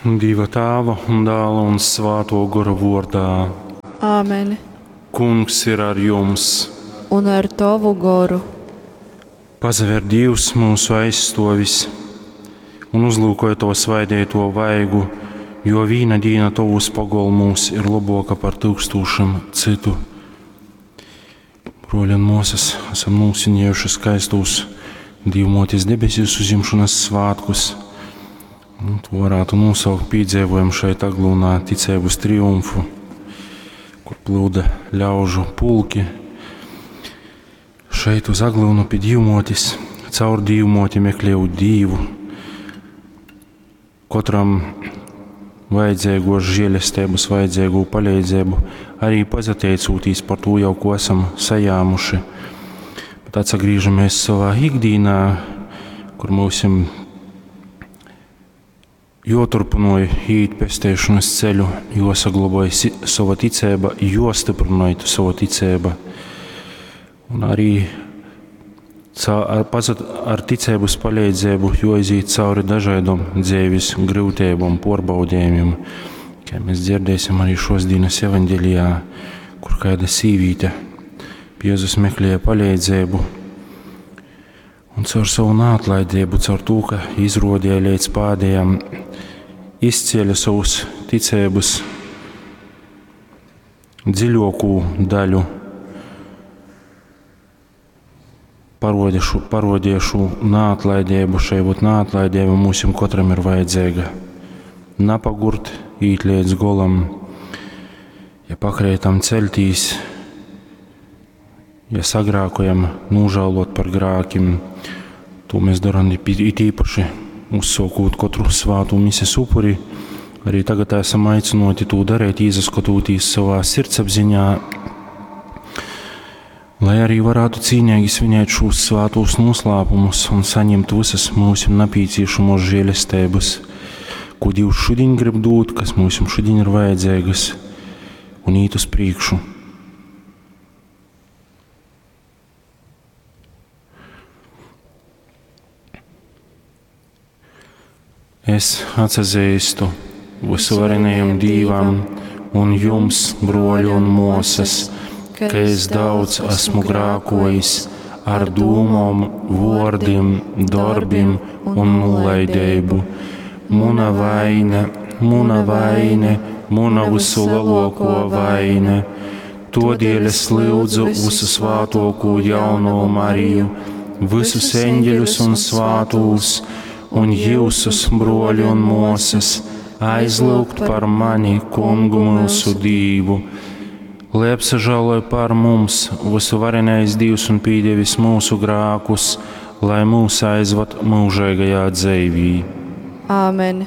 Dieva Tāva un Dāla un Svāto Gora vordā. Āmen. Kungs ir ar jums. Un ar tovu goru. Pazaver Dievs mūsu aizstovis un uzlūkoja to svaidēto vaigu, jo vīna dīna tovūs pogolmūs ir laboka par tūkstošiem citu. Broļi un mosas, esam nūsinējuši skaistos Dīvmotes debesīs uzņemšanas svātkus. Nu, to varētu nosaukt piedzīvojumu šeit Aglūnā ticības triumfu, kur plūda ļaužu pulki. Šeit uz Aglūnu pie Dīvmotes, caur Dīvmoti meklēju Dīvu. Katram vajadzīgos žēlestības, vajadzīgo palīdzību, arī pazateicūtīs par to jau, ko esam sajāmuši. Bet atsagriežamies savā ikdienā, kur mūsim joturpinoja īt pestēšanas ceļu, josaglaboja sava ticība, jostiprinoja savu ticību. Un arī ar, pazat, ar ticības palīdzību joiziet cauri dažādom dzīves grūtībām, porbaudījumiem, kā mēs dzirdēsim arī šos dienas evaņģelijā, kur kāda sīvīte pie Jēzus meklēja palīdzību. Un caur savu neatlaidību, caur to, ka izrodīja līdz pēdējam, izcēla savus ticības dziļāko daļu, parodīja šo neatlaidību, šai būt neatlaidība mums katram ir vajadzīga. Napagurt, īt līdz golam, ja pakrētam celtīs, ja sagrākojam, nožēlot par grākiem, to mēs darām it īpaši uzsākot katru svātu mises upuri. Arī tagad esam aicināti to darīt, izaskatoties savā sirdsapziņā, lai arī varētu cīnīgi svinēt šos svātos noslēpumus un saņemt visas mūsu nepieciešamos žēlestības, ko Dievs šodien grib dot, kas mums šodien ir vajadzīgas, un īt uz priekšu. Es atsazīstu visuvarenajam Dīvam un jums, broļi un mosas, ka es daudz esmu grākojis ar dūmom, vōrdim, darbim un nolaidību. Muna vaina, muna vaina, muna visu lielāko vaina. Todēļ es lūdzu visu svātoko jauno Mariju, visus eņģeļus un svātūs, un jūsus, broļi un mosas, aizlūgt par mani, kungu mūsu Dīvu. Lai apsažāloja par mums visuvarenais Dievs un pīdievis mūsu grākus, lai mūs aizvad mūžīgajā dzīvī. Āmen.